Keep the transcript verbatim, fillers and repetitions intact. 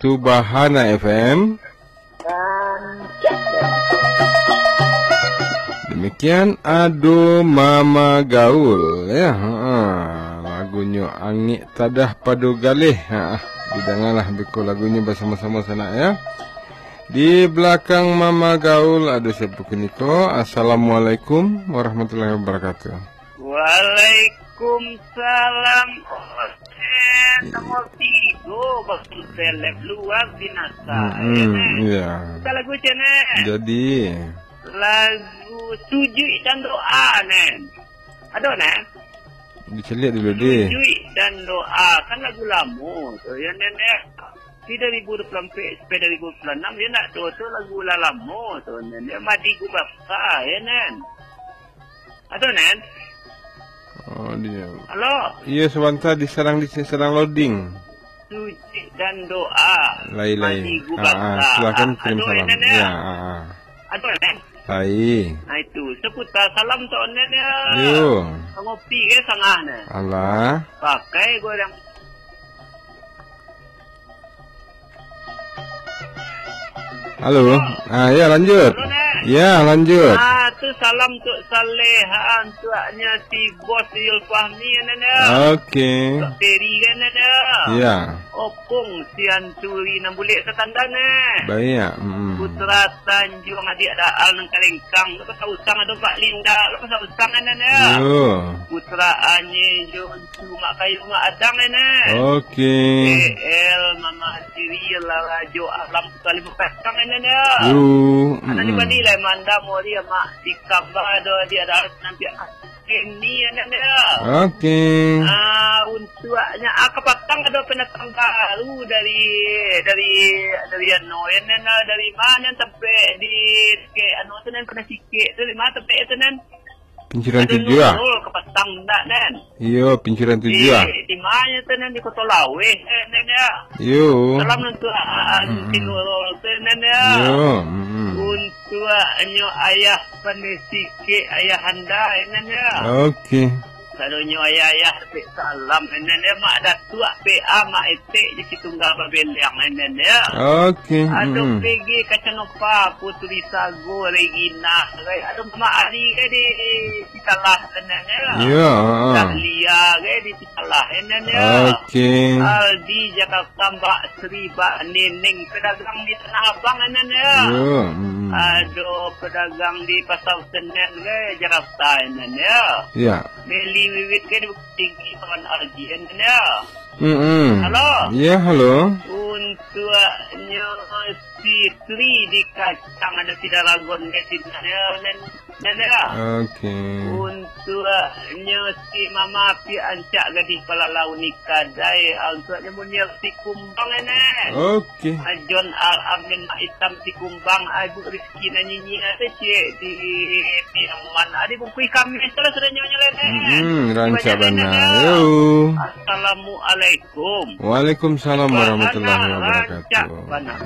Subahana F M. Demikian Ado Mama Gaul, ya. Ha, lagunyo Angek Tadah Pado Galeh. Ha, didangalah beko lagunyo basamo-samo sanak, ya. Di balakang Mama Gaul ado sia kiniko. Assalamualaikum warahmatullahi wabarakatuh. Waalaikumsalam. Osen, nomor tigo, Bang Seleb, luar binasa, ya, Nen? Iya. Kita lagu cen, Nen. Jadi. Lagu Sujuik dan Doa, Nen. Ado, Nen? Dicaliak dulu, deh. Sujuik dan Doa, kan lagu lamo tu, ya, Nen, ya. Di dua ribu dua puluh empat sampai dua ribu dua puluh enam, ya, nak tu, tu lagu lah lamo tu, Nen, ya. Madi Gubasa, ya, Nen. Ado, Nen? Oh, dia. Halo? Iya, sabanta disadang, disadang loading. Sujuik dan Doa. Lai, lai. Madi Gubasa. Ah, ah, silakan kirim salam. Ado, Nen, ya? Ya, ah, ah. Ado, Nen? Lai. Nah, itu. Saputar salam tu, Nen, ya. Yo. Ngopi ke sangah, Nen? Alah. Pakai goreng. Halo. Ah, ya, lanjut. Halo, Nen. Ya, lanjut. Ah, tu salam untuk Saleh, ah, untuknya si Bos Yul Fahmi, Nen, ya. Oke. Untuk Peri, kan, Nen, ya. Ya. Opung, si Anturi, nan bulik ke tandan, Nen. Baik, ya. Mm-mm. Putra Tanjuang, adik Daal, nan kalengkang. Lo pasal usang ado Pak Linda, lo pasal usang, Nen, ya. Yo. Putra Anye, jo Cuma kayu mak adang, Nen. Oke. A L, Mama Siri, Lala Jo Alam, Kali Bekasang, Nen, ya. Yo, Anak di mm-mm. Bali lah, Manda, Mori, Mak Sikamba, do, di ada nanti ini, Nen, ya. Oke. Ah, untuknya, ah, kapatang ado pendatang baru dari, dari, dari anu, Nen, dari mana sampai di, ke, anu, tu, Nen, pernah sikit tu, di mana sampai tu, Nen? Pinciran Ado tujuah, ah? Nurul kapatang ndak, Nen? Iyo, Pinciran tujuah, ah. Di, di mana tu, Nen? Di Koto Laweh, eh, Nen, ya? Iyo. Salam untuk, ah, mm-mm. Si Nurul tu, Nen, ya? Iyo, mm-mm. Untuknyo ayah pandai sikit, ayah anda, eh, Nen, ya? Oke. Sadonyo ayah-ayah, salam, Nen, ya? Mak Datuak, P A, Mak Etek, di Situnggal Babeleng, Nen, ya? Oke, ado mm-mm. P G Kacanova, Putri Sago, Regina, ado Mama Ari, eh, di Pitalah, Nen, ya. Iya, heeh. Dahlia, eh, di Pitalah, Nen, ya. Oke. Aldi Jakarta, Mbak Sri, Mbak Neneng, pedagang di Tanah Abang, Nen, ya. Iya, mm-mm. Ado pedagang di Pasar Senen, eh, Jakarta, Nen, ya. Iya. Meli Wiwit, eh, di Bukittinggi, kawan Aldi, Nen, ya. Mm-mm. Halo? Ya, halo. Untuknyo si Tri di Kacang, ado si Daragon, Nen, Nen, Nen, ya. Oke. Untuknyo si Mama Pi Ancak Gadih Palalau ni kadai, ah, untuknyo Munir si Kumbang, Nen. Oke. Ajon Al Amin Mak Itam si Kumbang, ah, Ibu Rizky nan nyinyia tu, cik, di Piaman, ah, di bungkui kami, salah sudah nyonya, Nen. Mm-mm, rancak bana. Yo. Assalamualaikum. Waalaikumsalam warahmatullahi wabarakatuh. Rancak bana.